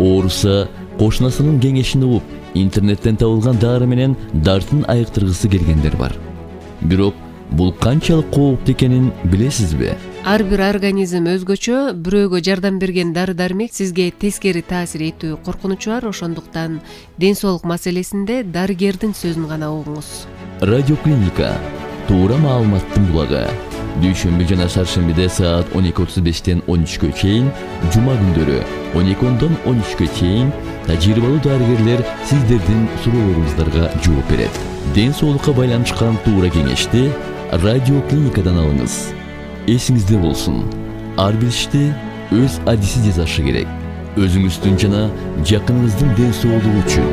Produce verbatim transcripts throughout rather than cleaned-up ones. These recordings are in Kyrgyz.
ооруса кошунасынын кеңешин угуп, интернеттен табылган дары менен дартын айыктыргысы келгендер бар. Бирок бул канчалык кооптуу экенин билесизби? Ар бир организм өзгөчө, бирөөгө жардам берген дары-дармек сизге тескери таасир этүү коркунучу бар, ошондуктан ден соолук маселесинде дарыгердин сөзүн гана угуңуз. Радиоклиника туура маалыматтын булагы. Дүйшөмбү жана шаршембиде саат он эки отуз бештен он үчкө чейин, жума күндөрү он эки ондон он үчкө чейин тажрыйбалуу дарыгерлер сиздердин суроолоруңуздарга жооп берет. Ден соолукка байланышкан туура кеңешти радиоклиникадан алыңыз. Эсиңизде болсун, ар бир ишти өз адиси жасашы керек. Өзүңүздүн жана жакыныңыздын ден соолугу үчүн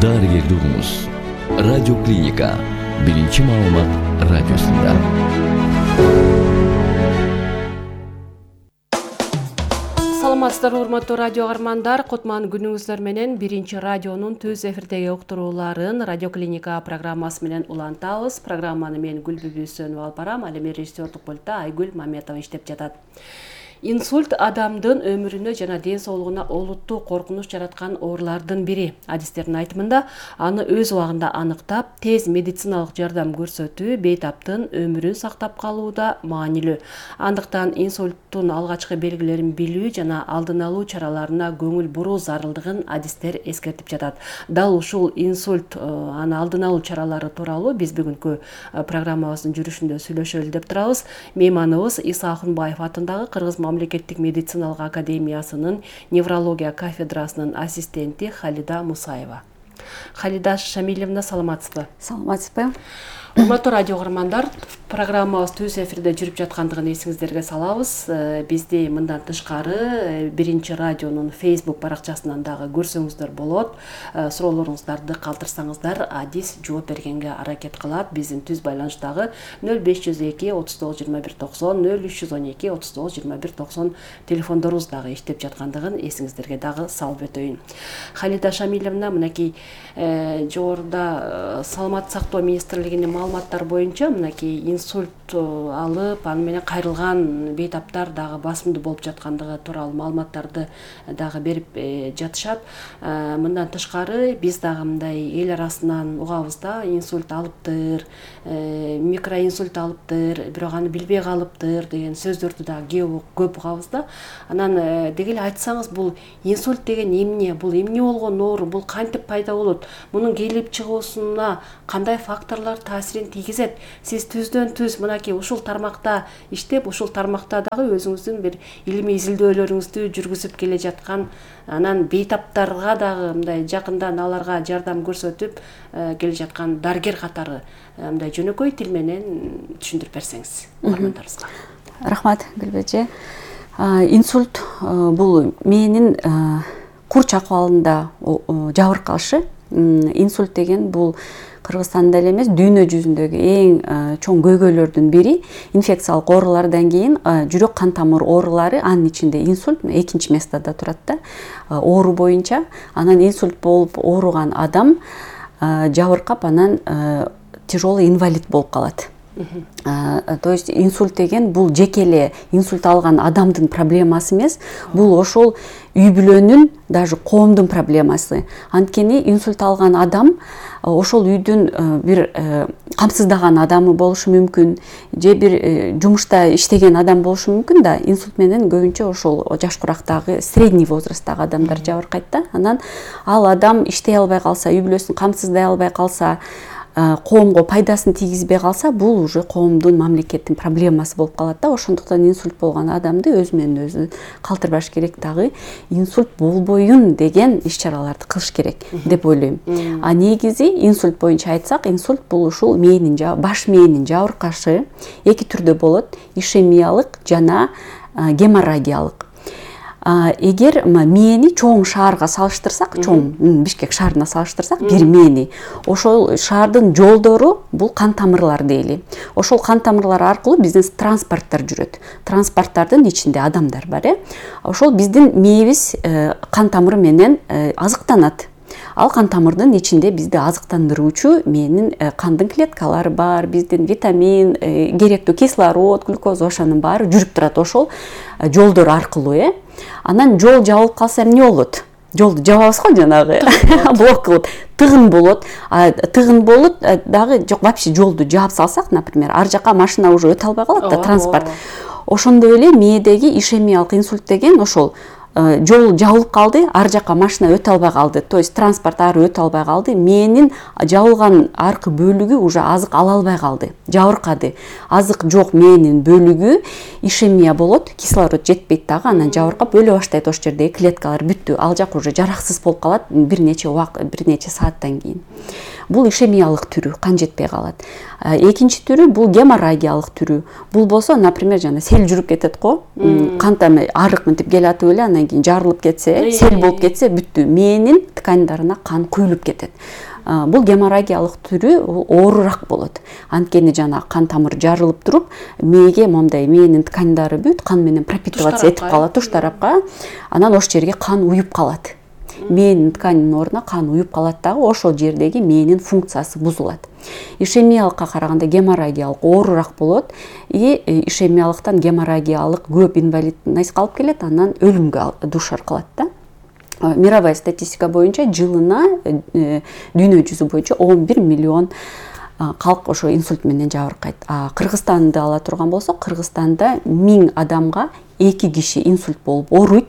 дарыгерди угуңуз. Радиоклиника биринчи маалымат радиосунда. Саламатсыздарбы, урматтуу радио каармандар. Кутман күнүңүздөр менен биринчи радионун түз эфирдеги уктурууларын Радиоклиника программасы менен улантабыз. Программаны мен Гүлбүбү Сөнүп алып барам. Ал эми режиссердук пультта Айгүл Маметова иштеп жатат. Инсульт адамдын өмүрүнө жана ден соолугуна олуттуу коркунуч жараткан оорулардын бири. Адистердин айтымында, аны өз убагында аныктап, тез медициналык жардам көрсөтүү бейтаптын өмүрүн сактап калууда маанилүү. Андыктан инсульттун алгачкы белгилерин билүү жана алдын алуу чараларына көңүл буруу зарылдыгын адистер эскертип жатат. Дал ушул инсульт аны алдын алуу чаралары тууралуу биз бүгүнкү программабыздын жүрүшүндө сүйлөшөлү деп турабыз. Мейманыбыз Иса Акунбаев атындагы Кыргыз Мамлекеттик медициналык академиясынын неврология кафедрасынын ассистенти Халида Мусаева. Халида Шамилевна, саламатсызбы? Саламатсызбы. Урматтуу радио каармандар, программабыз түз эфирде жүрүп жаткандыгын эсиңиздерге салабыз. Бизди мындан тышкары биринчи радионун Facebook баракчасынан дагы көрсөңүздөр болот. Суроолоруңуздарды калтырсаңыздар, адис жооп бергенге аракет кылат. Биздин түз байланыштагы нөл беш жүз эки отуз тогуз жыйырма бир токсон, нөл үч жүз он эки отуз тогуз жыйырма бир токсон телефондорубуз дагы иштеп жаткандыгын эсиңиздерге дагы салып өтөйүн. Халида Шамилевна, мынакей жогоруда Саламаттык сактоо министрлигинин маалыматтары боюнча мынакей инсульт алып, аны менен кайрылган бейтаптар дагы басымдуу болуп жаткандыгы тууралуу маалыматтарды дагы берип жатышат. Мындан тышкары биз дагы мындай эл арасынан угабыз да, инсульт алыптыр, микроинсульт алыптыр, бирок аны билбей калыптыр деген сөздөрдү дагы көп угабыз да. Анан деги эле айтсаңыз, бул инсульт деген эмне, бул эмне болгон оору, бул кантип пайда болот, мунун келип чыгуусуна кандай факторлор таасирин тийгизет? Сиз түздөн түз мынакей ушул тармакта иштеп, ушул тармакта дагы өзүңүздүн бир илимий изилдөөлөрүңүздү жүргүзүп келе жаткан, анан бейтаптарга дагы мындай жакындан аларга жардам көрсөтүп келе жаткан дарыгер катары мындай жөнөкөй тил менен түшүндүрүп берсеңиз каармандарыбызга. Рахмат, Гүлбүжи. Инсульт бул мээнин курч акыбалында жабыркашы. Инсульт деген бул Кыргызстанда эле эмес, дүйнө жүзүндөгү эң чоң көйгөйлөрдүн бири. Инфекциялык оорулардан кийин жүрөк кан тамыр оорулары, анын ичинде инсульт экинчи местада турат да. Оору боюнча, анан инсульт болуп ооруган адам жабыркап, анан тяжелый инвалид болуп калат. То есть инсульт деген бул жеке эле инсульт алган адамдын проблемасы эмес, бул ошол үй бүлөнүн, даже коомдун проблемасы. Анткени инсульт алган адам ошол үйдүн бир камсыздаган адамы болушу мүмкүн, же бир жумушта иштеген адам болушу мүмкүн да. Инсульт менен көбүнчө ошол жаш курактагы, средний возрасттагы адамдар жабыркайт да. Анан ал адам иштей албай калса, үй бүлөсүн камсыздай албай калса, коомго пайдасын тийгизбей калса, бул уже коомдун, мамлекеттин проблемасы болуп калат да. Ошондуктан инсульт болгон адамды өзү менен өзү калтырбаш керек, дагы инсульт болбоюн деген иш-чараларды кылыш керек деп ойлойм. А негизи инсульт боюнча айтсак, инсульт бул ушул мээнин, баш мээнин жабыркашы эки түрдө болот: ишемиялык жана геморрагиялык. Эгер мээни чоң шаарга салыштырсак, чоң Бишкек шаарына салыштырсак, бир мээни, ошол шаардын жолдору бул кан тамырлар дейли. Ошол кан тамырлар аркылуу биздин транспорттор жүрөт. Транспорттардын ичинде адамдар бар, э. Ошол биздин мээбиз кан тамыры менен азыктанат. Ал кан тамырдын ичинде бизди азыктандыруучу мээнин кандын клеткалары бар, биздин витамин, керектүү кислород, глюкоза, ошонун баары жүрүп турат ошол жолдор аркылуу, э. Анан жол жабылып калса эмне болот? жолду жабабыз го жанагы блок кылып тыгын болот. Тыгын болот дагы жок, вообще жолду жаап салсак, например, ар жака машина уже өтө албай калат да, транспорт. Ошондой эле мээдеги ишемиялык инсульт деген ошол жол жабылып калды, ар жака машина өтө албай калды, то есть транспорт ары өтө албай калды, мээнин жабылган аркы бөлүгү уже азык ала албай калды, жабыркады. Азык жок мээнин бөлүгү ишемия болот, кислород жетпейт дагы, анан жабыркап өлө баштайт. Ошол жердеги клеткалар бүттү, ал жак уже жараксыз болуп калат бир нече убакыт, бир нече сааттан кийин. Бул ишемиялык түрү, кан жетпей калат. Экинчи түрү бул геморрагиялык түрү. Бул болсо, например, жана сел жүрүп кетет го, кан тами арык мынтип келатып эле, анан кийин жарылып кетсе, сел болуп кетсе, бүттү. Мээнин тканьдарына кан куюлуп кетет. Бул геморрагиялык түрү оорураак болот. Анткени жана кан тамыр жарылып туруп, мээге момундай мээнин тканьдары бүт кан менен пропитываться этип калат туш тарапка. Анан ошол жерге кан уюп калат. Мээнин тканьдын ордуна кан уюп калат дагы, ошол жердеги мээнин функциясы бузулат. Ишемиялыкка караганда геморрагиялык оорураак болот и ишемиялыктан геморрагиялык көп инвалидность алып келет, анан өлүмгө дуушар кылат да. Мировая статистика боюнча жылына дүйнө жүзү боюнча он бир миллион калк ошо инсульт менен жабыркайт. Кыргызстанды ала турган болсок, Кыргызстанда миң адамга эки киши инсульт болуп ооруйт.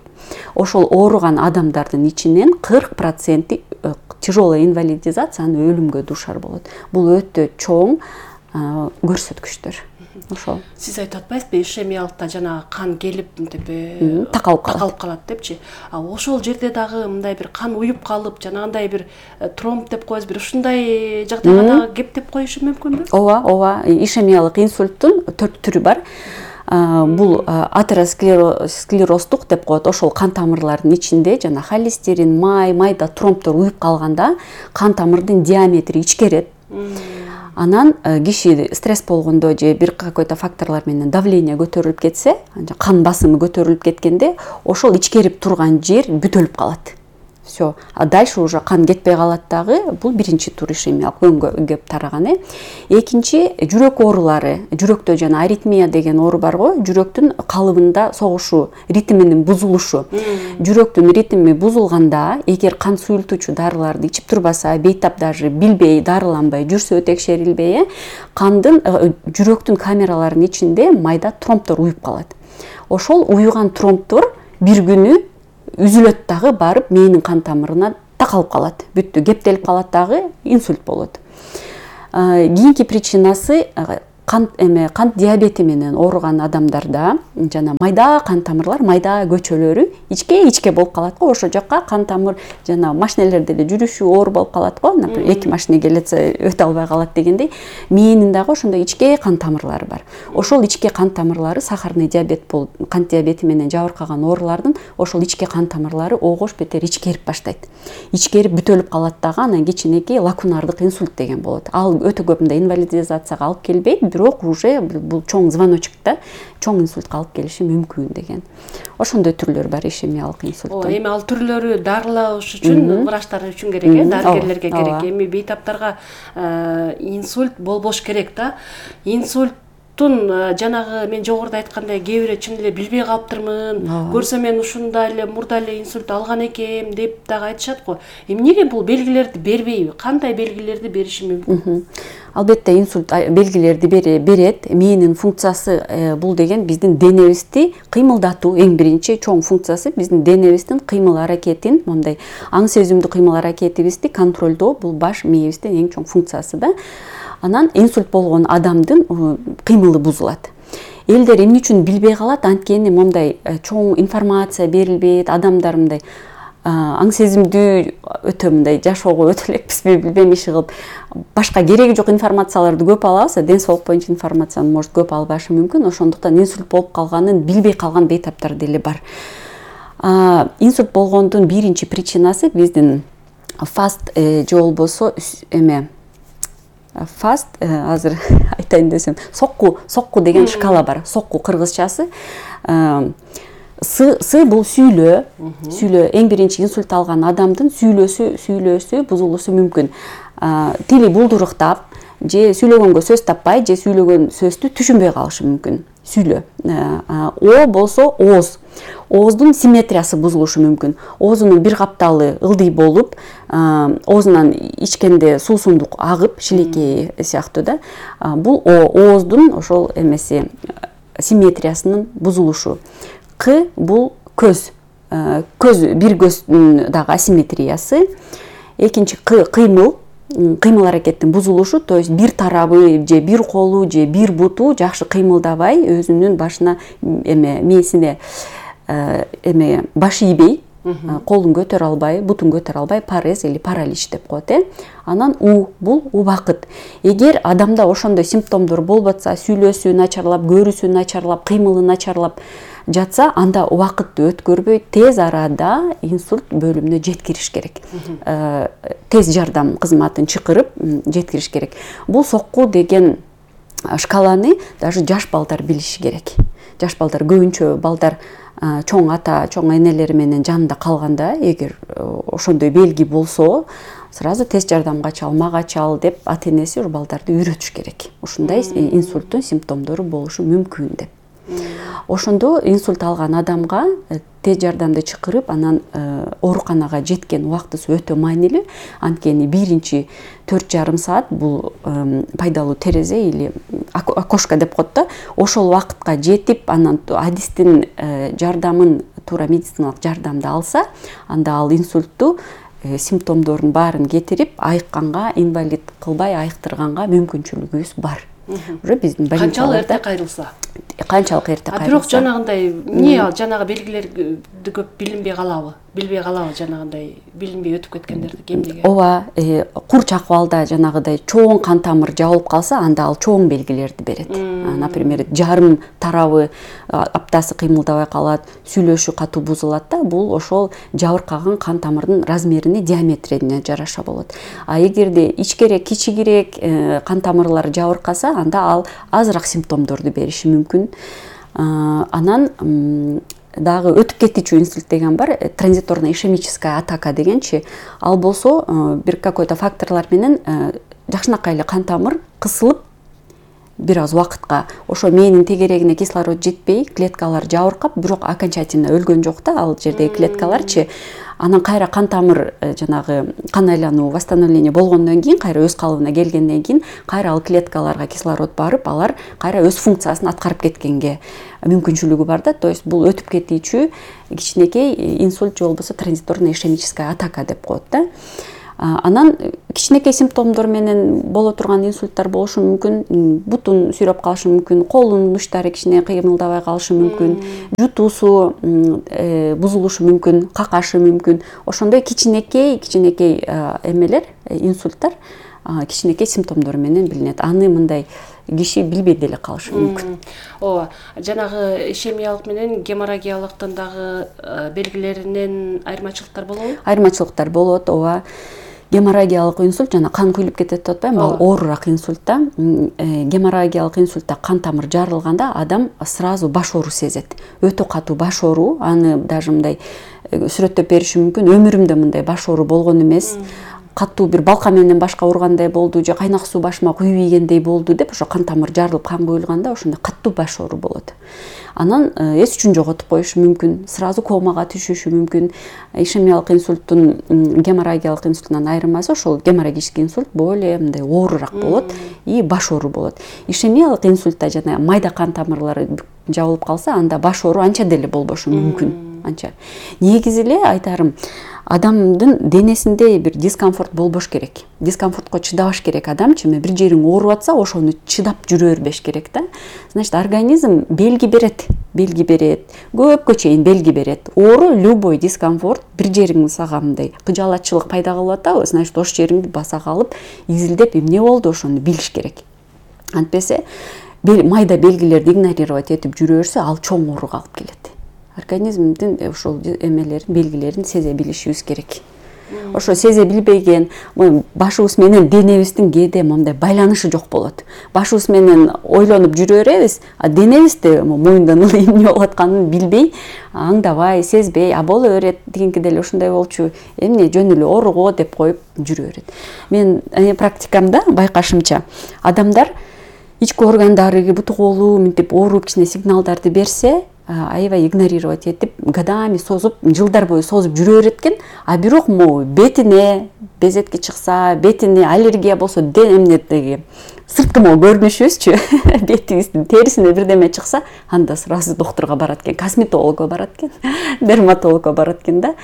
Ошол ооруган адамдардын ичинен кырк проценти тяжелая инвалидизация, анан өлүмгө дуушар болот. Бул өтө чоң көрсөткүчтөр. Ошол. Сиз айтып атпайсызбы, ишемиялыкта жана кан келип мынтип такалып калат. Такалып калат депчи. А ошол жерде дагы мындай бир кан уюп калып, жанагындай бир тромб деп коебуз, бир ушундай жагдайга дагы кептеп коюшу мүмкүнбү? Ооба, ооба. Ишемиялык инсульттун төрт түрү бар. Бул атеросклероздук деп коет. Ошол кан тамырлардын ичинде жана холестерин, май, майда тромбтор уюп калганда кан тамырдын диаметри ичкерет. Анан киши стресс болгондо же бир какой-то факторлор менен давление көтөрүлүп кетсе, кан басымы көтөрүлүп кеткенде, ошол ичкерип турган жер бүтөлүп калат. Все. А дальше уже кан кетпей калат дагы. Бул биринчи тур ишемиялык өңгө кеп тараган. Экинчи жүрөк оорулары. Жүрөктө жана аритмия деген оору бар го. Жүрөктүн калыбында согушу, ритминин бузулушу. Жүрөктүн ритми бузулганда, эгер кан суюлтуучу дарыларды ичип турбаса, бейтап даже билбей, дарыланбай жүрсө, текшерилбей, кандын жүрөктүн камераларынын ичинде майда тромбтор уюп калат. Ошол уюган тромбтор бир күнү үзүлөт дагы, барып мээнин кан тамырына такалып калат. Бүттү, кептелип калат дагы, инсульт болот. Кийинки причинасы кан эме кант диабети менен ооруган адамдарда жана майда кан тамырлар, майда көчөлөрү ичке-ичке болуп калат го. Ошол жакка кан тамыр жана машинелерде эле жүрүшү оор болуп калат го. Например, эки машина келетсе өтө албай калат дегендей, мээнин дагы ошондой ичке кан тамырлары бар. Ошол ичке кан тамырлары сахарный диабет болуп, кант диабети менен жабыркаган оорулардын ошол ичке кан тамырлары огош бетер ичкерип баштайт. Ичкерип бүтөлүп калат дагы, анан кичинекей лакунардык инсульт деген болот. Ал өтө көп мындай инвалидизацияга алып келбейт, бирок уже бул чоң звоночек да, чоң инсультка алып келиши мүмкүн деген. Ошондой түрлөр бар ишемиялык инсульттун. Эми ал түрлөрү дарылаш үчүн, врачтар үчүн керек э, дарыгерлерге керек. Эми бейтаптарга инсульт болбош керек да. Инсульт жанагы мен жогоруда айткандай кээ бирөө чын эле билбей калыптырмын, көрсөм мен ушундай эле мурда эле инсульт алган экем деп дагы айтышат го. Эмнеге бул белгилерди бербейби? Кандай белгилерди бериши мүмкүн? Албетте инсульт белгилерди берет. Мээнин функциясы бул деген биздин денебизди кыймылдатуу, эң биринчи чоң функциясы биздин денебиздин кыймыл аракетин, мындай аң сезимдүү кыймыл аракетибизди контролдоо, бул баш мээбиздин эң чоң функциясы да. Анан инсульт болгон адамдын кыймылы бузулат. Элдер эмне үчүн билбей калат? Анткени мындай чоң информация берилбейт, адамдар мындай аң сезимдүү өтө мындай жашоого өтө элекпизби, билбейм иши кылып, башка кереги жок информацияларды көп алабыз, ден соолук боюнча информацияны может көп албашы мүмкүн. Ошондуктан инсульт болуп калганын билбей калган бейтаптар деле бар. Инсульт болгондун биринчи причинасы биздин фаст же болбосо эме фаст, азыр айтайын десем, сокку, сокку деген шкала бар. Сокку кыргызчасы. Сы, сы бул сүйлөө, сүйлөө. Эң биринчи инсульт алган адамдын сүйлөөсү, сүйлөөсү бузулушу мүмкүн. Тили булдуруктап, же сүйлөгөнгө сөз таппай, же сүйлөгөн сөздү түшүнбөй калышы мүмкүн. сүйлө. О болсо ооз. Ооздун симметриясы бузулушу мүмкүн. Оозунун бир капталы ылдый болуп, оозунан ичкенде суусундук агып, шилекей сыяктуу да. Бул ооздун ошол эмеси симметриясынын бузулушу. К бул көз. Көз бир көздүн дагы асимметриясы. Экинчи кыймыл. Кыймыл аракеттин бузулушу, то есть бир тарабы же бир колу же бир буту жакшы кыймылдабай, өзүнүн башына эме мээсине эме баш ийбей, колун көтөрө албай, бутун көтөрө албай, парез или паралич деп коет э. Анан у бул убакыт. Эгер адамда ошондой симптомдор болботса, сүйлөөсү начарлап, көрүүсү начарлап, кыймылы начарлап жатса, анда убакытты өткөрбөй тез арада инсульт бөлүмүнө жеткириш керек. Тез жардам кызматын чакырып жеткириш керек. Бул сокку деген шкаланы даже жаш балдар билиши керек. Жаш балдар көбүнчө балдар чоң ата, чоң энелери менен жанында калганда, эгер ошондой белги болсо, сразу тез жардамга чал, мага чал деп ата-энеси ушу балдарды үйрөтүш керек. Ушундай инсульттун симптомдору болушу мүмкүн деп. Ошондо инсульт алган адамга тез жардамды чакырып, анан ооруканага жеткен убактысы өтө маанилүү. Анткени биринчи төрт жарым саат бул пайдалуу терезе или окошко деп коет да. Ошол убакытка жетип, анан адистин жардамын, туура медициналык жардамды алса, анда ал инсультту симптомдорун баарын кетирип, айыкканга, инвалид кылбай айыктырганга мүмкүнчүлүгүбүз бар. Уже биздин канчалык эрте кайрылса, канчалык эрте кайрылса. Бирок жанагындай эмне жанагы белгилерди көп билинбей калабы? Билбей калабы жанагындай билинбей өтүп кеткендерди эмнеге? Ооба, курч акыбалда жанагыдай чоң кан тамыр жабылып калса, анда ал чоң белгилерди берет. Например, жарым тарабы аптасы кыймылдабай калат, сүйлөшү катуу бузулат да, бул ошол жабыркаган кан тамырдын размерине, диаметрине жараша болот. А эгерде ичкерээк, кичигирээк кан тамырлары жабыркаса, анда ал азыраак симптомдорду бериши мүмкүн. Анан дагы өтүп кетүүчү инсульт деген бар, транзиторная ишемическая атака дегенчи, ал болсо бир какой-то факторлор менен жакшынакай эле кан тамыр кысылып бир аз убакытка ошо мээнин тегерегине кислород жетпей, клеткалар жабыркап, бирок окончательно өлгөн жок да ал жердеги клеткаларчы. Анан кайра кан тамыр жанагы кан айлануу, восстановление болгондон кийин, кайра өз калыбына келгенден кийин, кайра ал клеткаларга кислород барып, алар кайра өз функциясын аткарып кеткенге мүмкүнчүлүгү бар да. То есть бул өтүп кетүүчү кичинекей инсульт же болбосо транзиторная ишемическая атака деп коет да. Анан кичинекей симптомдор менен боло турган инсульттар болушу мүмкүн, бутун сүйрөп калышы мүмкүн, колунун учтары кичине кыймылдабай калышы мүмкүн, жутуусу бузулушу мүмкүн, какашы мүмкүн. Ошондой кичинекей кичинекей эмелер, инсульттар кичинекей симптомдор менен билинет. Аны мындай киши билбей деле калышы мүмкүн. Ооба, жанагы ишемиялык менен геморрагиялыктын дагы белгилеринен айырмачылыктар болобу? Айырмачылыктар болот, ооба. Геморрагиялык инсульт жана кан куюлуп кетет деп атпайбы, ал оорураак инсульт да. Геморрагиялык инсультта кан тамыр жарылганда адам сразу баш оору сезет. Өтө катуу баш оору, аны даже мындай сүрөттөп бериши мүмкүн. Өмүрүмдө мындай баш оору болгон эмес. Катуу бир балка менен башка ургандай болду, же кайнак суу башыма куюп ийгендей болду деп, ошо кан тамыр жарылып кан куюлганда ошондой катуу баш оору болот. Анан эс үчүн жоготуп коюшу мүмкүн, сразу комага түшүшү мүмкүн. Ишемиялык инсульттун геморрагиялык инсульттан айырмасы ошол геморрагический инсульт более мындай оорураак болот и баш оору болот. Ишемиялык инсультта жана майда кан тамырлары жабылып калса, анда баш оору анча деле болбошу мүмкүн. Анча. Негизи эле айтарым, адамдын денесинде бир дискомфорт болбош керек. Дискомфортко чыдабаш керек адамчы, бир жериң ооруп атса, ошону чыдап жүрө бербеш керек да. Значит, организм белги берет, белги берет, көпкө чейин белги берет. Оору, любой дискомфорт, бир жериң сага мындай кыжалатчылык пайда кылып атабы, значит, ошол жериңди баса калып, изилдеп эмне болду ошону билиш керек. Антпесе, майда белгилерди игнорировать этип жүрө берсе, ал чоң ооруга алып келет. Организмдин ошол эмелерин, белгилерин сезе билишибиз керек. Ошо сезе билбеген, башыбыз менен денебиздин кээде мындай байланышы жок болот. Башыбыз менен ойлонуп жүрө беребиз, а денебизде моюндан эле эмне болуп атканын билбей, аңдабай, сезбей, а боло берет, дегенки деле ушундай болчу, эмне жөн эле ооруго деп коюп жүрө берет. Мен практикамда байкашымча, адамдар ички органдары бутугулуу мынтип ооруп кичине сигналдарды берсе, аябай игнорировать этип, годами созуп, жылдар бою созуп жүрө берет экен. А бирок могу бетине безетки чыкса, бетине аллергия болсо, эмнедеги сырткы могу көрүнүшүбүзчү, бетибиздин терисине бирдеме чыкса, анда сразу доктурга барат экен, косметологко барат экен, дерматологко барат экен да.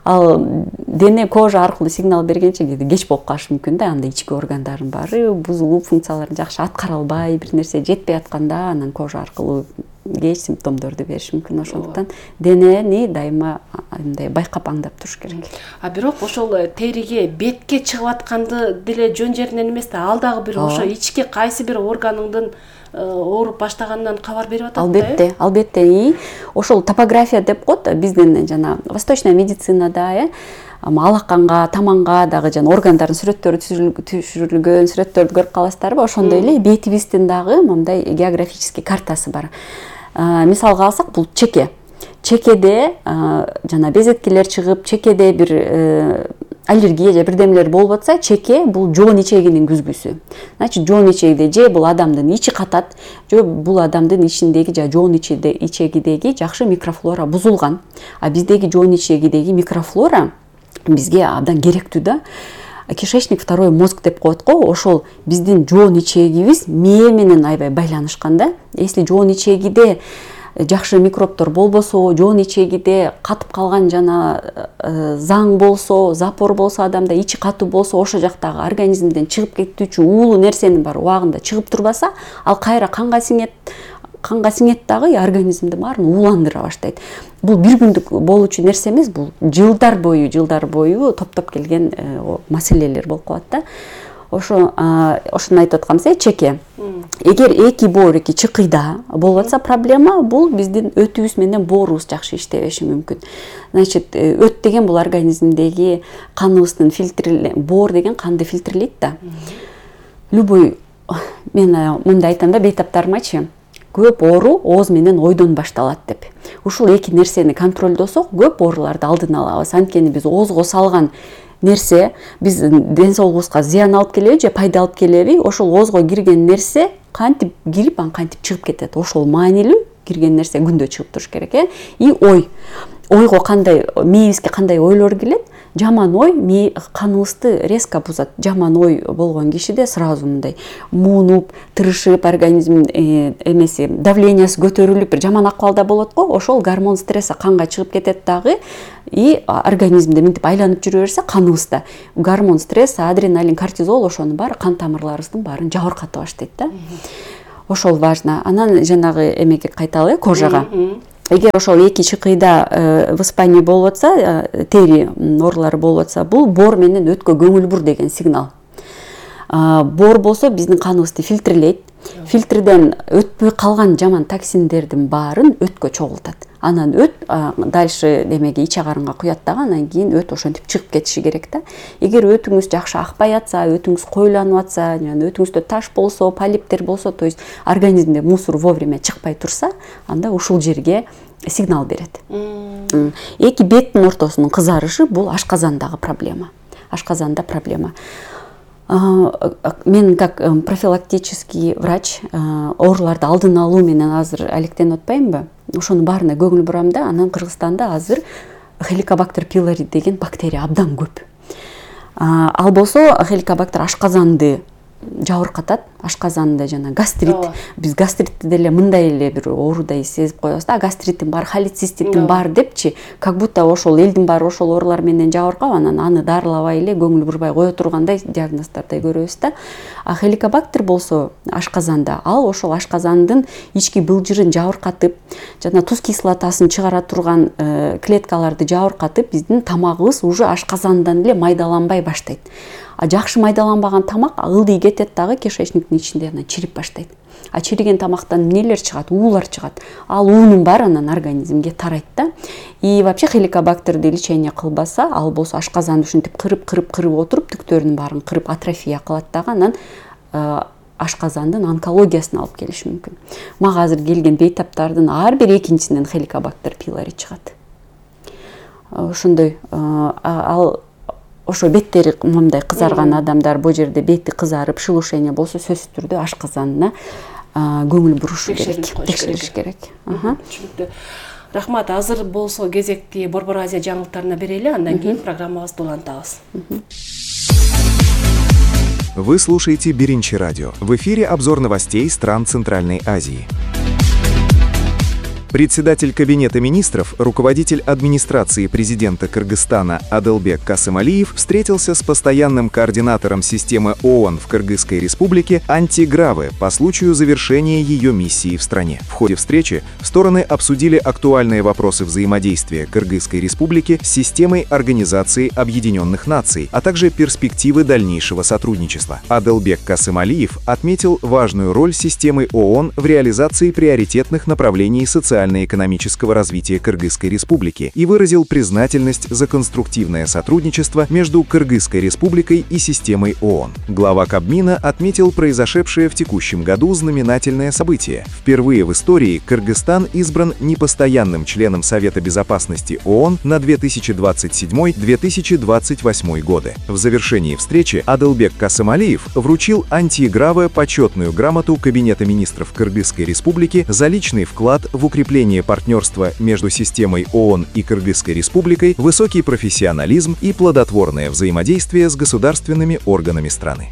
Ал дене кожа аркылуу сигнал бергенче кээде кеч болуп калышы мүмкүн да. Анда ички органдардын баары бузулуп, функцияларын жакшы аткара албай, бир нерсе жетпей атканда, анан кожа аркылуу кеч симптомдорду бериши мүмкүн. Ошондуктан денени дайыма мындай байкап аңдап туруш керек. А бирок ошол териге, бетке чыгып атканды деле жөн жеринен эмес да, ал дагы бир ошо ички кайсы бир органыңдын ооруп баштаганынан кабар берип атат да. Албетте, албетте. Ошол топография деп коет биздин жана восточная медицинада, э, алаканга, таманга дагы жана органдардын сүрөттөрү түшүрүлгөн, сүрөттөрдү көрүп каласыздарбы? Ошондой эле бетибиздин дагы мындай географический картасы бар. Мисалга алсак, бул чеке. Чекеде жана безеткилер чыгып, чекеде бир аллергия же бирдемелер болуп атса, чеке бул жоон ичегинин күзгүсү. Значит, жоон ичегиде же бул адамдын ичи катат, же бул адамдын ичиндеги же жоон ичегидеги жакшы микрофлора бузулган. А биздеги жоон ичегидеги микрофлора бизге абдан керектүү да. Кишечник второй мозг деп коет го, ошол биздин жоон ичегибиз мээ менен аябай байланышкан да. Если жоон ичегиде жакшы микробтор болбосо, жоон ичегиде катып калган жана заң болсо, запор болсо, адамда ичи катуу болсо, ошол жактагы организмден чыгып кетүүчү уулуу нерсенин баары убагында чыгып турбаса, ал кайра канга сиңет, канга сиңет дагы организмди баарын ууландыра баштайт. Бул бир күндүк болуучу нерсе эмес, бул жылдар бою, жылдар бою топтоп келген маселелер болуп калат да. Ошо ошону айтып атканбыз, чеке. Эгер эки боор, эки чыкыйда болуп атса проблема, бул биздин өтүбүз менен боорубуз жакшы иштебеши мүмкүн. Значит, өт деген бул организмдеги каныбыздын фильтри, боор деген канды фильтрлейт да. Любой, мен мындай айтам да бейтаптарымачы, көп оору ооз менен ойдон башталат деп. Ушул эки нерсени контролдосок, көп ооруларды алдын алабыз. Анткени биз оозго салган нерсе биздин ден соолугубузга зыян алып келеби же пайда алып келеби, ошол оозго кирген нерсе кантип кирип, анан кантип чыгып кетет. Ошол маанилүү, кирген нерсе күндө чыгып туруш керек э. И ой, ойго кандай, мээбизге кандай ойлор келет? Жаман ой мээ каныбызды резко бузат. Жаман ой болгон кишиде сразу мындай муунуп, тырышып, организм эмеси, давлениясы көтөрүлүп, бир жаман акыбалда болот го. Ошол гормон стресси канга чыгып кетет дагы. И организмде мынтип айланып жүрө берсе, каныбызда гормон стресс, адреналин, кортизол, ошонун баары кан тамырларыбыздын баарын жабырката баштайт да. Ошол важно. Анан жанагы эмеге кайталы, кожага. Эгер ошол эки чыкыйда воспаление болуп атса, тери оорулары болуп атса, бул боор менен өткө көңүл бур деген сигнал. Боор болсо биздин каныбызды фильтрлейт. Фильтрден өтпөй калган жаман токсиндердин баарын өткө чогултат. Анан өт дальше демеге ич агарынга куят дагы, анан кийин өт ошентип чыгып кетиши керек да. Эгер өтүңүз жакшы акпай атса, өтүңүз коюланып атса, жана өтүңүздө таш болсо, полиптер болсо, то есть организмде мусор вовремя чыкпай турса, анда ушул жерге сигнал берет. Эки беттин ортосунун кызарышы бул ашказандагы проблема. Ашказанда проблема. Мен как профилактический врач ооруларды алдын алуу менен азыр алектенип атпаймынбы? Ошонун баарына көңүл бурам да. Анан Кыргызстанда азыр Helicobacter pylori деген бактерия абдан көп. Ал болсо Helicobacter ашказанды жабыркатат, ашказанды жана гастрит. Биз гастритти деле мындай эле бир оорудай сезип коебуз да, гастриттин бар, холециститтин бар депчи, как будто ошол элдин баары ошол оорулар менен жабыркап, анан аны дарылабай эле көңүл бурбай кое тургандай диагноздордой көрөбүз да. А Helicobacter болсо ашказанда, ал ошол ашказандын ички былжырын жабыркатып, жана туз кислотасын чыгара турган клеткаларды жабыркатып, биздин тамагыбыз уже ашказандан эле майдаланбай баштайт. А жакшы майдаланбаган тамак ылдый кетет дагы кишечниктин ичинде, анан чирип баштайт. А чириген тамактан эмнелер чыгат? Уулар чыгат. Ал уунун баары анан организмге тарайт да. И вообще Helicobacterди лечение кылбаса, ал болсо ашказанды ушинтип кырып-кырып-кырып отуруп, түктөрүнүн баарын кырып атрофия кылат дагы, анан ашказандын онкологиясына алып келиши мүмкүн. Мага азыр келген бейтаптардын ар бир экинчисинен Helicobacter pylori чыгат. Ошондой ал ошо беттери мындай кызарган адамдар, бул жерде бети кызарып, шелушение болсо сөзсүз түрдө ашказанына көңүл бурушу керек, текшериш керек. Түшүнүктүү. Рахмат. Азыр болсо кезекти Борбор Азия жаңылыктарына берели, андан кийин программабызды улантабыз. Вы слушаете Биринчи радио. В эфире обзор новостей стран Центральной Азии. Председатель Кабинета министров, руководитель администрации президента Кыргызстана Адылбек Касымалиев встретился с постоянным координатором системы ООН в Кыргызской республике Анти Граве по случаю завершения ее миссии в стране. В ходе встречи стороны обсудили актуальные вопросы взаимодействия Кыргызской республики с системой Организации Объединенных Наций, а также перспективы дальнейшего сотрудничества. Адылбек Касымалиев отметил важную роль системы ООН в реализации приоритетных направлений социальной социально-экономического развития Кыргызской республики и выразил признательность за конструктивное сотрудничество между Кыргызской республикой и системой ООН. Глава Кабмина отметил произошедшее в текущем году знаменательное событие. Впервые в истории Кыргызстан избран непостоянным членом Совета безопасности ООН на две тысячи двадцать седьмой — две тысячи двадцать восьмой годы. В завершении встречи Адылбек Касымалиев вручил Анти Граве почетную грамоту Кабинета министров Кыргызской республики за личный вклад в укрепление партнерства между системой ООН и Кыргызской республикой, высокий профессионализм и плодотворное взаимодействие с государственными органами страны.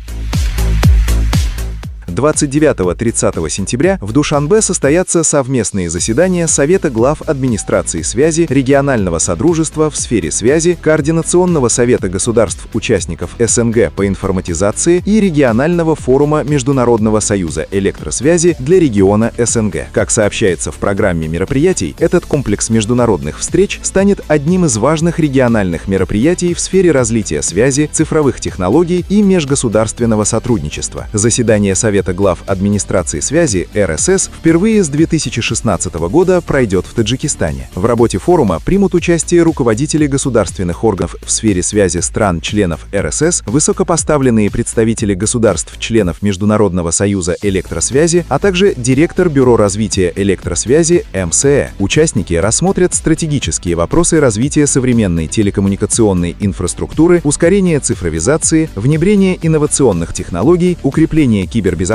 двадцать девятого — тридцатого сентября в Душанбе состоятся совместные заседания Совета глав администрации связи, регионального содружества в сфере связи, Координационного совета государств-участников СНГ по информатизации и регионального форума Международного союза электросвязи для региона СНГ. Как сообщается в программе мероприятий, этот комплекс международных встреч станет одним из важных региональных мероприятий в сфере развития связи, цифровых технологий и межгосударственного сотрудничества. Заседание Совета глав администрации связи эр эс эс впервые с две тысячи шестнадцатого года пройдет в Таджикистане. В работе форума примут участие руководители государственных органов в сфере связи стран-членов эр эс эс, высокопоставленные представители государств-членов Международного союза электросвязи, а также директор Бюро развития электросвязи эм эс э. Участники рассмотрят стратегические вопросы развития современной телекоммуникационной инфраструктуры, ускорения цифровизации, внедрения инновационных технологий, укрепления кибербезопасности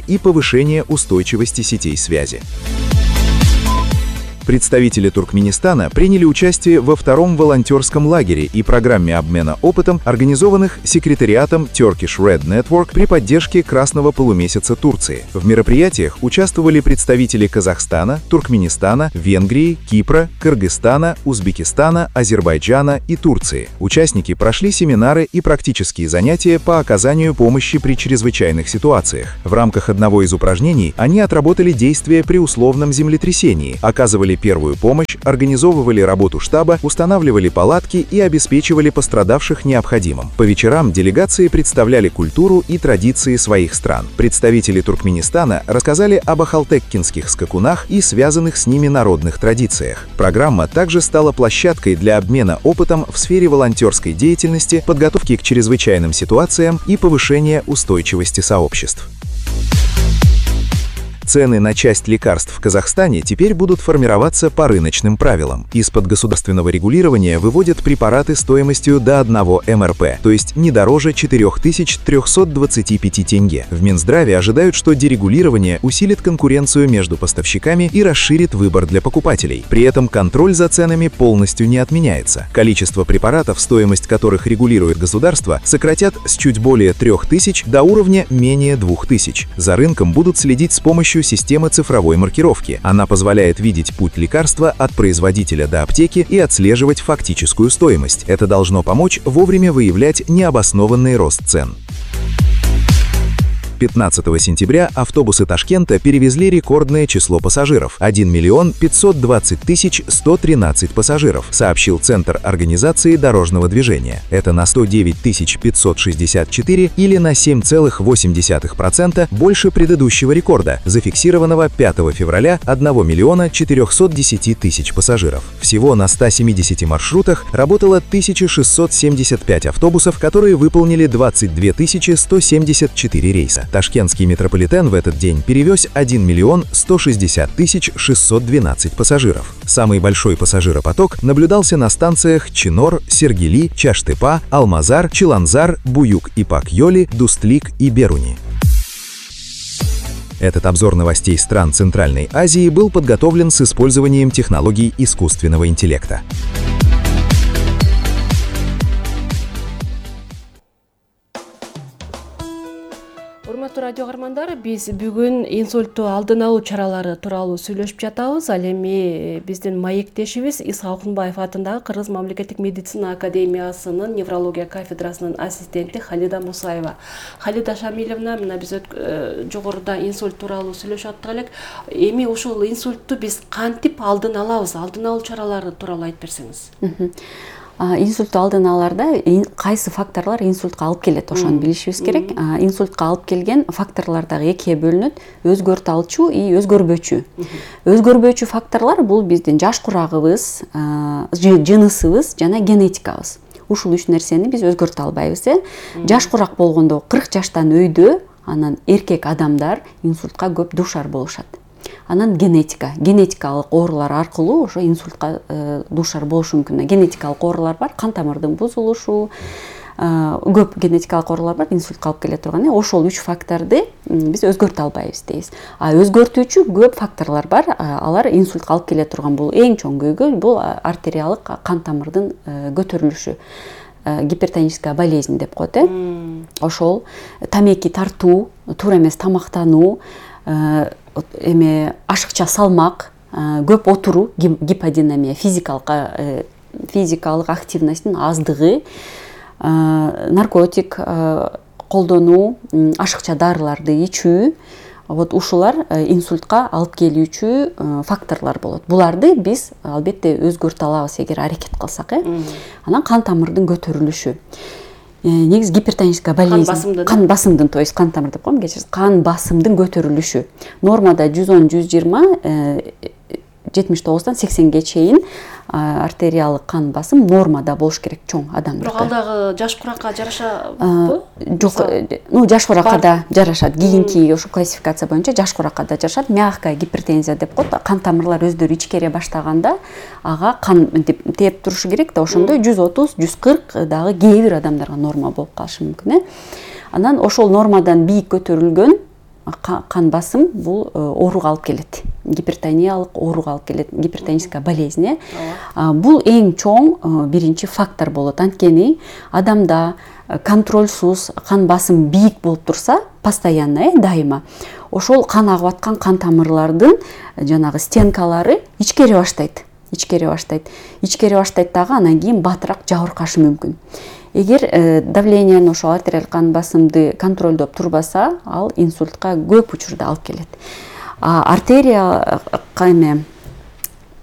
и повышение устойчивости сетей связи. Представители Туркменистана приняли участие во втором волонтерском лагере и программе обмена опытом, организованных секретариатом Turkish Red Network при поддержке Красного полумесяца Турции. В мероприятиях участвовали представители Казахстана, Туркменистана, Венгрии, Кипра, Кыргызстана, Узбекистана, Азербайджана и Турции. Участники прошли семинары и практические занятия по оказанию помощи при чрезвычайных ситуациях. В рамках одного из упражнений они отработали действия при условном землетрясении, оказывали первую помощь, организовывали работу штаба, устанавливали палатки и обеспечивали пострадавших необходимым. По вечерам делегации представляли культуру и традиции своих стран. Представители Туркменистана рассказали об ахалтеккинских скакунах и связанных с ними народных традициях. Программа также стала площадкой для обмена опытом в сфере волонтерской деятельности, подготовки к чрезвычайным ситуациям и повышения устойчивости сообществ. Цены на часть лекарств в Казахстане теперь будут формироваться по рыночным правилам. Из-под государственного регулирования выводят препараты стоимостью до одного эм эр пэ, то есть не дороже четырёх тысяч трёхсот двадцати пяти тенге. В Минздраве ожидают, что дерегулирование усилит конкуренцию между поставщиками и расширит выбор для покупателей. При этом контроль за ценами полностью не отменяется. Количество препаратов, стоимость которых регулирует государство, сократят с чуть более трёх тысяч до уровня менее двух тысяч. За рынком будут следить с помощью системы цифровой маркировки. Она позволяет видеть путь лекарства от производителя до аптеки и отслеживать фактическую стоимость. Это должно помочь вовремя выявлять необоснованный рост цен. пятнадцатого сентября автобусы Ташкента перевезли рекордное число пассажиров – один миллион пятьсот двадцать тысяч сто тринадцать пассажиров, сообщил Центр организации дорожного движения. Это на сто девять тысяч пятьсот шестьдесят четыре или на семь целых восемь десятых процента больше предыдущего рекорда, зафиксированного пятого февраля одного миллиона четырёхсот десяти тысяч пассажиров. Всего на ста семидесяти маршрутах работало тысяча шестьсот семьдесят пять автобусов, которые выполнили двадцать две тысячи сто семьдесят четыре рейса. Ташкентский метрополитен в этот день перевез один миллион сто шестьдесят тысяч шестьсот двенадцать пассажиров. Самый большой пассажиропоток наблюдался на станциях Чинор, Сергели, Чаштыпа, Алмазар, Чиланзар, Буюк-Ипак-Йоли, Дустлик и Беруни. Этот обзор новостей стран Центральной Азии был подготовлен с использованием технологий искусственного интеллекта. Урматтуу радио каармандар, биз бүгүн инсультту алдын алуу чаралары тууралуу сүйлөшүп жатабыз. Ал эми биздин маектешибиз Исхак Акунбаев атындагы Кыргыз мамлекеттик медицина академиясынын неврология кафедрасынын ассистенти Халида Мусаева. Халида Шамиловна, мына биз жогоруда инсульт тууралуу сүйлөшүп аттык элек. Эми ушул инсультту биз кантип алдын алабыз? Алдын алуу чаралары тууралуу айтып берсеңиз. Инсультту алдын алаарда кайсы факторлор инсультка алып келет, ошону билишибиз керек. Инсультка алып келген факторлор дагы экиге бөлүнөт: өзгөрталчу и өзгөрбөчү. Өзгөрбөчү факторлор бул биздин жаш курагыбыз, жынысыбыз жана генетикабыз. Ушул үч нерсени биз өзгөртө албайбыз. Жаш курак болгондо кырк жаштан өйдө анан эркек адамдар инсультка көп дуушар болушат. Анан генетика, генетикалык оорулар аркылуу ошо инсультка дуушар болушу мүмкүн. Генетикалык оорулар бар, кан тамырдын бузулушу, көп генетикалык оорулар бар, инсультка алып келе турган. Ошол үч факторду биз өзгөртө албайбыз дейбиз. А өзгөртүүчү көп факторлор бар, алар инсультка алып келе турган. Бул эң чоң көйгөй, бул артериалык кан тамырдын көтөрүлүшү. Гипертоническая болезнь деп коет. Ошол тамеки тартуу, туура эмес тамактануу, эме ашыкча салмак, көп отуруу, гиподинамия, физикалык физикалык активносттун аздыгы, наркотик колдонуу, ашыкча дарыларды ичүү, вот ушулар инсультка алып келүүчү факторлор болот. Буларды биз албетте өзгөртө алабыз эгер аракет кылсак. Анан кан тамырдын көтөрүлүшү. Негиз гипертоническая болезнь, кан басымдын, то есть кан тамыр деп коем, кечирсиз, кан басымдын көтөрүлүшү. Нормада жүз он жүз жыйырма, жетимиш тогуздан сексенге чейин артериалык кан басым нормада болуш керек чоң адамдарда. Бирок ал дагы жаш куракка жарашабы? Жок, ну жаш куракка да жарашат. Кийинки ошо классификация боюнча жаш куракка да жарашат. Мягкая гипертензия деп коет. Кан тамырлар өздөрү ичкере баштаганда ага кан тээп турушу керек да, ошондо жүз отуз жүз кырк дагы кээ бир адамдарга норма болуп калышы мүмкүн. Анан ошол нормадан бийик көтөрүлгөн кан басым бул ооруга алып келет. Гипертониялык ооруга алып келет, гипертоническая болезнь. Бул эң чоң биринчи фактор болот. Анткени адамда контрольсуз кан басым бийик болуп турса, постоянно, дайыма, ошол кан агып аткан кан тамырлардын жанагы стенкалары ичкере баштайт. Ичкере баштайт. Ичкере баштайт дагы, анан кийин батыраак жабыркашы мүмкүн. Эгер давлениени, ошо артериалдык кан басымды контролдоп турбаса, ал инсультка көп учурда алып келет. А артерия эме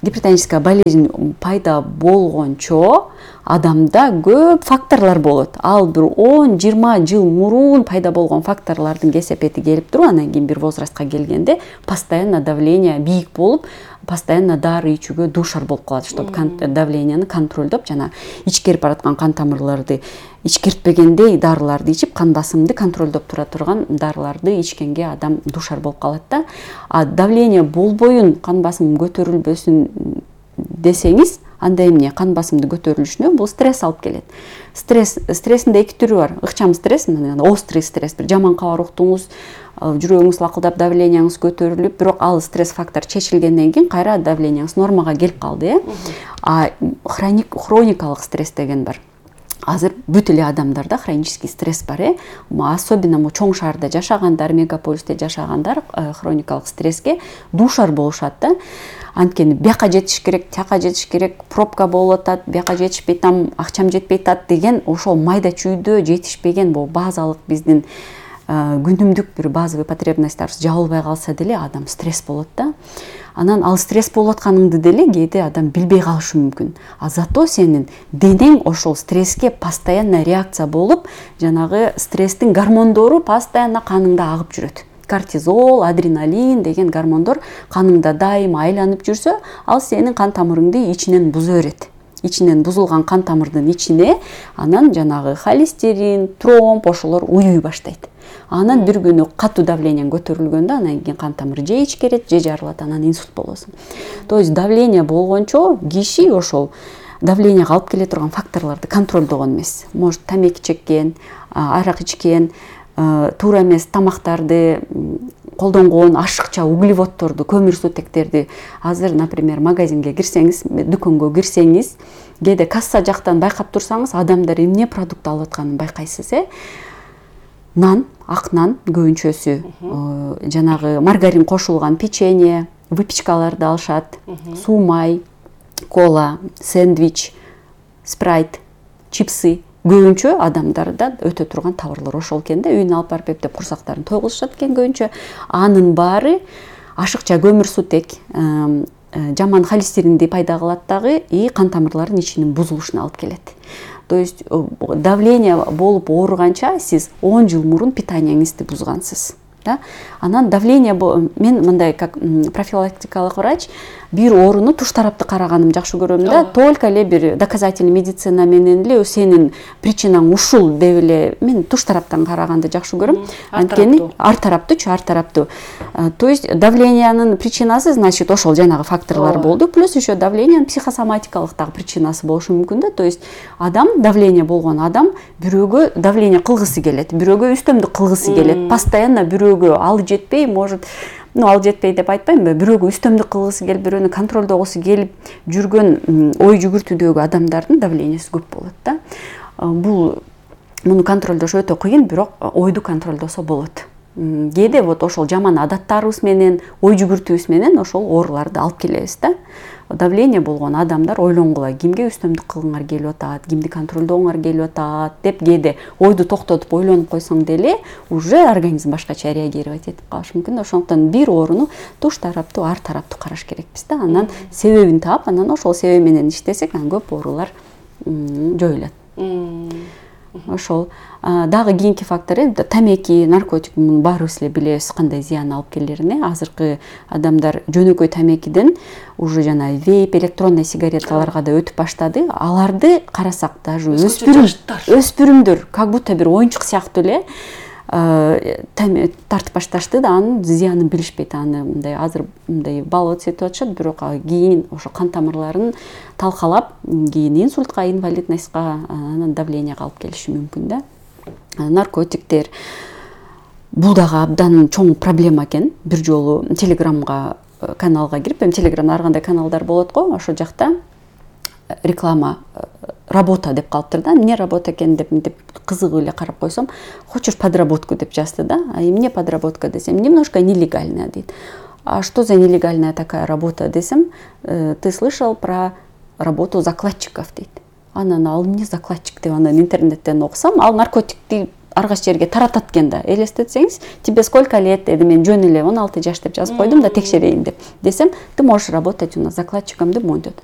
гипертоническая болезнь пайда болгончо адамда көп факторлор болот. Ал бир он жыйырма жыл мурун пайда болгон факторлордун кесепети келип туруп, анан кийин бир возрастка келгенде постоянно давление бийик болуп, постоянно дары ичүүгө дуушар болуп калат, чтобы давлениени контролдоп, жана ичкерип бараткан кан тамырларды ичкертпегендей дарыларды ичип, кан басымды контролдоп тура турган дарыларды ичкенге адам дуушар болуп калат да. А давление болбоюн, кан басымым көтөрүлбөсүн десеңиз, анда эмне? Кан басымды көтөрүлүшүнө бул стресс алып келет. Стресс, стресстин эки түрү бар. Ыкчам стресс, острый стресс, бир жаман кабар уктуңуз, жүрөгүңүз лакылдап, давленияңыз көтөрүлүп, бирок ал стресс фактор чечилгенден кийин кайра давленияңыз нормага келип калды, э? А хроник, хроникалык стресс деген бар. Азыр бүт эле адамдарда хронический стресс бар, э? Особенно чоң шаарда жашагандар, мегаполисте жашагандар хроникалык стресске дуушар болушат да. Анткени бияка жетиш керек, тияка жетиш керек, пробка болуп атат, бияка жетишпей там, акчам жетпей атат деген ошол майда чүйдө жетишпеген бул базалык биздин күнүмдүк бир базовый потребностьтарыбыз жабылбай калса деле адам стресс болот да. Анан ал стресс болуп атканыңды деле кээде адам билбей калышы мүмкүн. А зато сенин денең ошол стресске постоянно реакция болуп, жанагы стресстин гормондору постоянно каныңда агып жүрөт. Кортизол, адреналин деген гормондор каныңда дайыма айланып жүрсө, ал сенин кан тамырыңды ичинен буза берет. Ичинен бузулган кан тамырдын ичине анан жанагы холестерин, тромб ошолор уюй баштайт. анан бир күнү катуу давлениең көтөрүлгөндө анан кийин кан тамыры же ичкерет же жарылат, анан инсульт болосуң. То есть давление болгончо киши ошол давлениега алып келе турган факторлорду контролдогон эмес. Может тамеки чеккен, арак ичкен, туура эмес тамактарды колдонгон, ашыкча углеводдорду, көмүрсутектерди. Азыр, например, магазинге кирсеңиз, дүкөнгө кирсеңиз, кээде касса жактан байкап турсаңыз, адамдар эмне продукт алып атканын байкайсыз, э? Нан, ак нан көбүнчөсү, жанагы маргарин кошулган печенье, выпечкаларды алышат, суу май, кола, сэндвич, спрайт, чипсы. Көбүнчө адамдарда өтө турган товарлар ошол экен да, үйүнө алып барып эптеп курсактарын тойгузушат экен көбүнчө. Анын баары ашыкча көмүрсутек, жаман холестеринди пайда кылат дагы, и кан тамырлардын ичинин бузулушуна алып келет. То есть давление болуп ооруганча сиз он жыл мурун питаниеңизди бузгансыз. Да? Анан давление, мен мындай как профилактикалык врач, бир ооруну туш тарапты караганым жакшы көрөм да, только эле бир доказательный медицина менен эле сенин причинаң ушул деп эле мен туш тараптан караганды жакшы көрөм. Анткени ар тараптуучу, ар тараптуу. То есть давлениянын причинасы, значит, ошол жанагы факторлор болду, плюс еще давлениянын психосоматикалык дагы причинасы болушу мүмкүн да. То есть адам, давление болгон адам бирөөгө давление кылгысы келет, бирөөгө үстөмдүк кылгысы келет, постоянно бирөөгө ал жетпей, может, ну, ал жетпей деп айтпайм, бирөөгө үстөмдүк кылгысы келип, бирөөнү контролдогусу келип жүргөн ой жүгүртүүдөгү адамдардын давлениеси көп болот да. Бул муну контролдош өтө кыйын, бирок ойду контролдосо болот. Кээде вот ошол жаман адаттарыбыз менен, ой жүгүртүүбүз менен ошол ооруларды алып келебиз да. Давление болгон адамдар ойлонгула, кимге үстөмдүк кылгыңар келип атат, кимди контролдооңар келип атат деп кээде ойду токтотуп ойлонуп койсоң деле уже организм башкача реагировать этип калышы мүмкүн. Ошондуктан бир ооруну туш тараптуу, ар тараптуу караш керекпиз да. Анан себебин таап, анан ошол себеп менен иштесек, анан көп оорулар жоюлат. Ошол дагы кийинки фактор тамеки, наркотик, муну баарыбыз эле билебиз кандай зыян алып келерин. Азыркы адамдар жөнөкөй тамекиден уже жана вейп, электронный сигареталарга да өтүп баштады. Аларды карасак даже өспүрүм, өспүрүмдөр как будто бир оюнчук сыяктуу эле тартып башташты да, анын зыянын билишпейт. Аны мындай азыр мындай балыт этип атышат, бирок кийин ошо кан тамырларын талкалап, кийин инсультка, инвалидностька, анан давлениега алып келиши мүмкүн да. Наркотиктер бул дагы абдан чоң проблема экен. Бир жолу Телеграмга каналга кирип, эми Телеграмда ар кандай каналдар болот го, ошол жакта реклама работа деп калыптыр да. Эмне работа экен деп мынтип кызыгып эле карап койсом, хочешь подработку деп жазды да. А эмне подработка десем, немножко нелегальная дейт. А что за нелегальная такая работа десем, ты слышал про работу закладчиков дейт. Анан ал эмне закладчик деп анан интернеттен окусам, ал наркотикти ар кайсы жерге таратат экен да. Элестетсеңиз, тебе сколько лет? Эди мен жөн эле он алты жаш деп жазып койдум да, текшерейин деп. Десем, ты можешь работать у нас закладчиком деп монтет.